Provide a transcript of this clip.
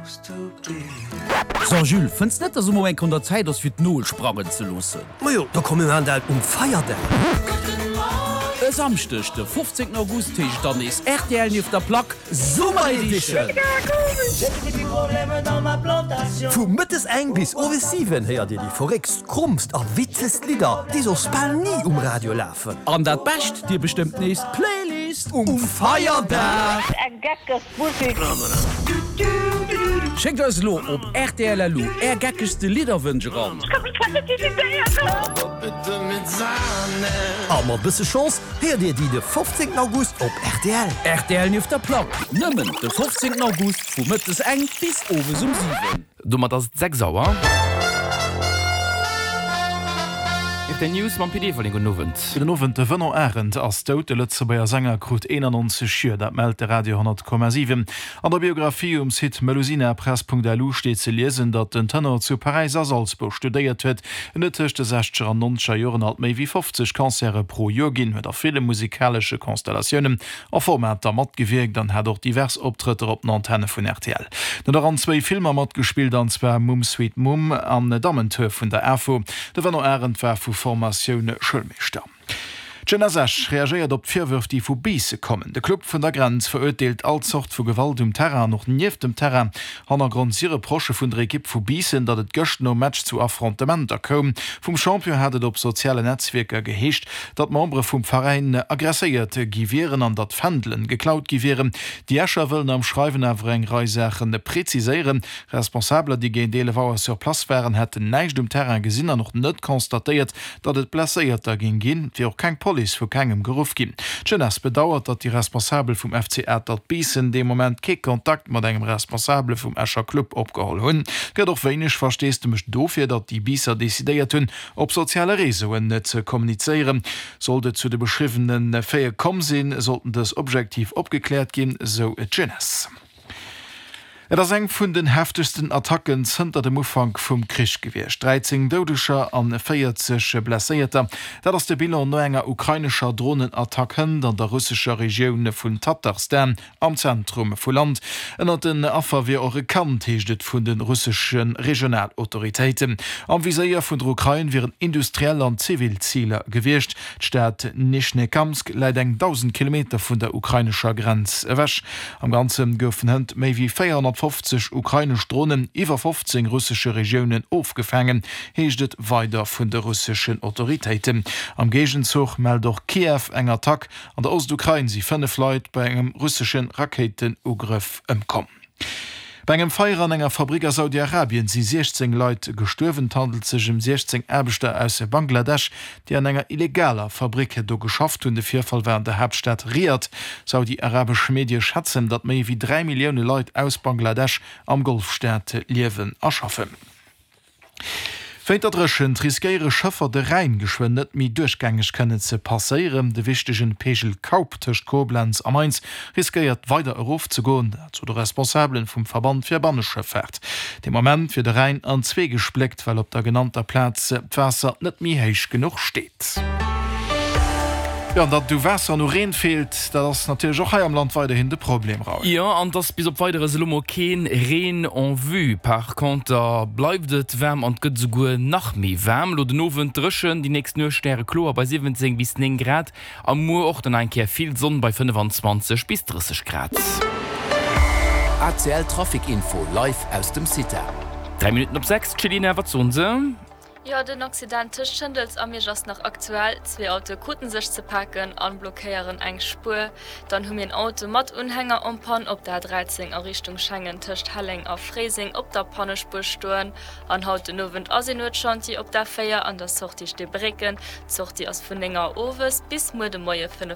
So Jules, fënns net dass emol eng un der Zäit ass fir d'Nol sprangen ze loossen? Majo, da komm mir maan dat um Feierdag. E Samschdeg de 15 August heescht et dann nees rtl nieft der Plack Summer Edition! Vu mëttes eng bis owes 7 héiert dir déi verréckst, krommst a witzegst Lidder, déi soss bal ni um Radio lafen. An dat Bescht, dir bestëmmt nees d'Playlist um Feierdag! Schéckt eis elo op rtl.lu är geckegste Lidderwënsch eran. A mat bësse Chance héiert dir déi de 15 August op rtl. Rtl nieft der Plack, nëmmen de 15 August vu mëttes eng bis owes um 7. Domat ass et 6 Auer. Rtl News mam Pit Everling. Gudden Owend. Gudden Owend. De Venant Arendt ass dout. De Lëtzebuerger Sänger krut 91 Joer. Dat mellt de Radio 10,7. An der Biographie um Site melusinapress.lu steet ze liesen, datt den Tenor zu Paräis a Salzburg studéiert huet. En huet tëscht de sechzeger an nonzeger Joren alt méi wéi 50 Concerte pro Joer ginn, huet a ville musikalesche Konstellatiounen a Formater matgewierkt an hat och divers Optrëtter op den Antenne vun rtl. En huet och an zwéi Filmer matgespillt, an zwar Mumm Sweet Mumm an Dammentour vun der AFO. De Venno Arendt war vu Formatioun Schoulmeeschter. D'Jeunesse Esch reagéiert op d'Virwërf, déi vu Biisse kommen. De Club vun der Grenz verurteelt all Zort vu Gewalt um Terrain an och nieft dem Terrain. Hannergrond si Reprochë vun der Ekipp vu Biissen, datt et gëscht nom Match zu Affrontementer koum. Vum Champion hat et op sozialen Netzwierker geheescht, datt Membere vum Veräin aggresséiert gi wieren an datt Fändelen geklaut gi wieren. Déi Escher wëllen am Schreiwen awer eng Rei Saache preziséieren. Responsabeler, déi géint 11 Auer sur place waren, hätten näischt um Terrain gesinn an och net constatéiert, datt et Blesséierter géing ginn. Et wier och keng Police vu kengem geruff ginn. D'Jeunesse bedauert, datt déi Responsabel vum FC Atert Biissen dee Moment kee Kontakt mat engem Responsabele vum Escher Club opgeholl hunn. Et gëtt och wéineg Versteesdemech dofir, datt déi Biisser decidéiert hunn, op soziale Réseauen ze kommunizéieren. Sollt et zu de beschriwwene Faite komm sinn, sollten dës objektiv opgekläert ginn, sou d'Jeunesse. Et ass eng vun den heftegsten Attacken zënter dem Ufank vum Krich gewiescht. 13 Doudeger an 40 Blesséierter, dat ass de Bilan no enger ukrainescher Dronenattack hënt an der russescher Regioun vun Tatarstan am Zentrum vu Land. Ënnert den Affer wier och e Kand, heescht et vun de russesche Regionalautoritéiten. Am Viséier vun der Ukrain wieren industriell an zivil Ziler gewiescht. D'Stad Nischnekamsk läit eng 1.000 Kilometer vun der ukrainescher Grenz ewech. Am Ganze goufen hënt méi wéi 450 ukrainesch Dronen iwwer 15 russesche Regiounen ofgefaangen, heescht et weider vun de russeschen Autoritéiten. Am Géigenzuch mellt och Kiew eng Attack An der Ostukrain si 5 Leit bei engem russesche Rakéitenugrëff ëmkomm. Bei engem Feier an enger Fabrick a Saudi-Arabien si 16 Leit gestuerwen. Et handelt sech ëm 16 Aarbechter aus Bangladesch, déi an enger illegaler Fabrick do geschafft hunn. De Virfall war an der Haaptstad Riad. Saudi-arabesch Medie schätzen, datt méi wéi 3 Millioune Leit aus Bangladesch am Golfstaat liewen a schaffen. Wéint der Dréchent riskéiere Schëffer de Rhäin geschwënn net méi duerchgängeg kënnen ze passéieren. De wichtegen Peegel Kaup tëscht Koblenz a Mainz riskéiert weider erof ze goen, dat sou de Responsabelen vum Verband fir Banneschëffaart. De Moment wier de Rhäin an zwee gespléckt, well op der genannter Plaz d'Waasser net méi héich genuch steet. Jo, an datt et u Waasser an u Reen feelt, dat ass natierlech och hei am Land weiderhin de Problem, Raoul. Jo, an et ass bis op Weideres elo mol keen Reen en vue. Par conter bleift et waarm an et gëtt esouguer nach méi waarm. Elo den Owend dréchen, déi nächst Nuecht stärekloer bei 17 bis 9 Grad a muer och dann nach eng Kéier vill Sonn bei 25 bis 30 Grad. ACL Trafic Info live aus dem CITA. 3 Minutten op 6, d'Chelina, wat soen se? Jo, den Accident tëscht Schëndels a Miersch ass nach aktuell. Zwee Autoe kruten sech ze paken an blockéieren eng Spuer. Dann hu mir en Auto mat Unhänger en panne op der A13 a Richtung Schengen tëscht Helleng a Fréiseng op der Pannespuer stoen. An haut den Owend ass een Nuetschantier op der A4 an der Sortie Steebrécken. D'Sortie ass vun 9 Auer owes bis muer de Moie 5.